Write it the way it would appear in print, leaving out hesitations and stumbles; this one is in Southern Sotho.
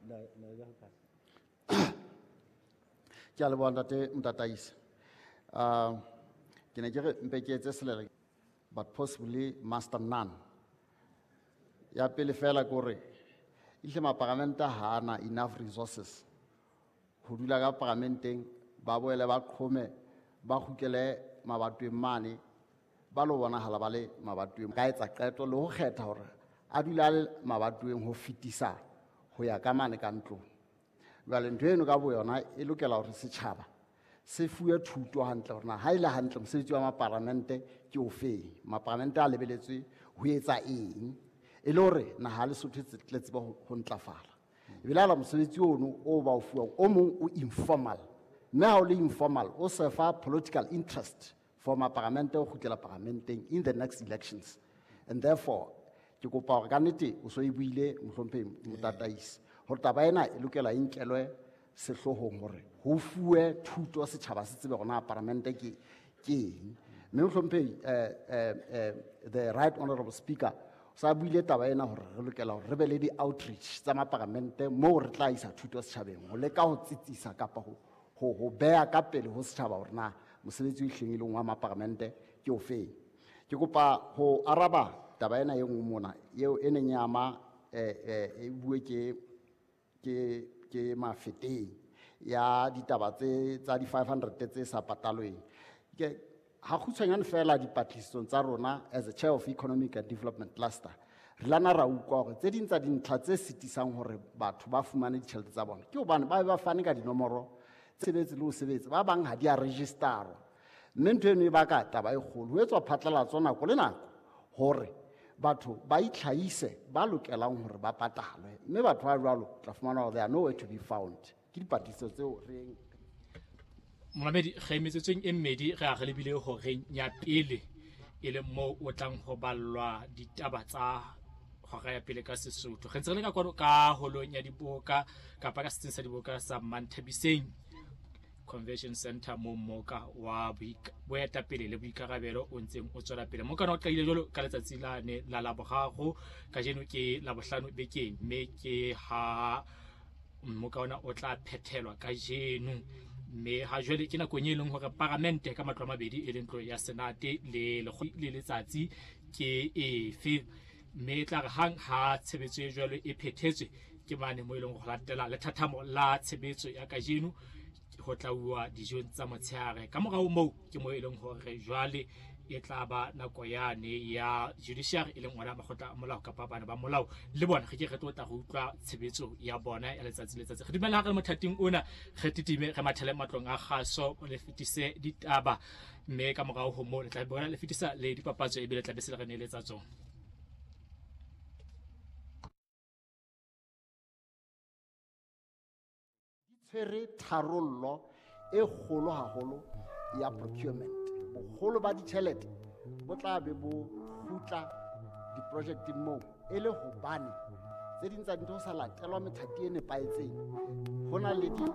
เลยเลยก็ไป Ke a leboha, ntate Motataisi. Ke ne ke re mpe ke etse selele, but possibly master none. Ya pele fela ke hore ehlile maparamente ha ana enough resources ho dula ka paramenteng, ba boele ba qhome, ba kgutlele mabatoweng mane, ba lo bonahala ba le mabatoweng, ka etsa qeto le ho kgetha hore a dula a le mabatoweng ho fetisa ho ya ka mane ka ntlong. Jwale ntho eno ka boyona e lokela hore setjhaba se fuwe thuto hantle hore na ha e le hantle mosebetsi wa maparamente ke ofeng, maparamente a lebeletswe ho etsa eng, e le hore naha ya Lesotho e tle tsebe ho ntlafala. Ebile hala mosebetsi ono o ba o fuwang o mong o informal, mme ha o le informal o serve political interest for maparamente ho kgutlela paramenteng in the next elections. And therefore ke kopa hore ka nnete o so e buile, mohlomphehi Motataisi, hore taba ena e lokela e nkelwe sehloohong hore ho fuwe thuto, setjhaba se tsebe hore na paramente ke eng. Mme mohlomphehi, the right honorable speaker o sa buile taba ena hore re lokela hore re be le di-outreach tsa maparamente moo re tla isa thuto setjhabeng ho leka ho tsitsisa kapa ho beha ka pele ho setjhaba hore na mosebetsi o ihleng e leng wa maparamente ke ofeng. Ke kopa ho araba taba ena e nngwe mona eo e neng e ama, e bue ke Mafeteng ya ditaba tse tsa di 500 tse sa patalweng. Ke ha kgutshwanyane fela dipatlisisong tsa rona as a chair of economic and development cluster, re lana ra utlwa hore tse ding tsa dintlha tse sitisang hore batho ba fumane ditjhelete tsa bona ke hobane ba be ba fane ka dinomoro sebetse le ho sebetsa, ba bang ha di a registerwa, mme ntho eno e baka taba e kgolo. Ho etswa phatlalatso nako le nako hore batho ba itlhahise ba lokelang hore ba patalwe, mme batho ba jwalo tla fumana hore they are nowhere to be found. Ke dipatlisiso tseo re Momamedi, re metsotsong e mmedi re a re lebile horeng ya pele, e leng moo o tlang ho ballwa ditaba tsa hora ya pele ka Sesotho. Re ntse re le ka kwano ka holong ya diboka kapa ka setsing sa diboka sa Manthabiseng Convention Center, moo mmoka wa boetapele le boikarabelo o ntseng o tswela pele. Mokana o qadile jwalo ka letsatsi la ne la Laboraro, kajeno ke Labohlano bekeng, mme ke ha mmoka ona o tla phethelwa kajeno. Mme ha jwale ke nakong e leng hore paramente ka matlo a mabedi, e leng ntlo ya Senate le le letsatsi ke efe, mme e tla re hang ha tshebetso e jwalo e phethetswe ke mane moo e leng ho latela lethathamo la tshebetso ya kajeno ho tla uwa dijong tsa motshehare. Ka morao moo ke moo e leng hore jwale e tla ba nako yane ya judiciary, e leng ona makgotla a molao kapa bana ba molao, le bona re ke re tlo tla re utlwa tshebetso ya bona ya letsatsi le letsatsi. Re dumela ha re le mothating ona, re titime re mathele matlong a kgaso le fetise ditaba, mme ka morao ho moo le tla bona le fetisa le dipapatso, ebile tla be se le re neeletsa tsona. Di tshwere tharollo e kgolo haholo ya procurement. Boholo ba ditjhelete bo tla be bo kgutla diprojekteng moo, e le hobane tse ding tsa dintho ho sa latelwa methati e nepahetseng. Ho na le di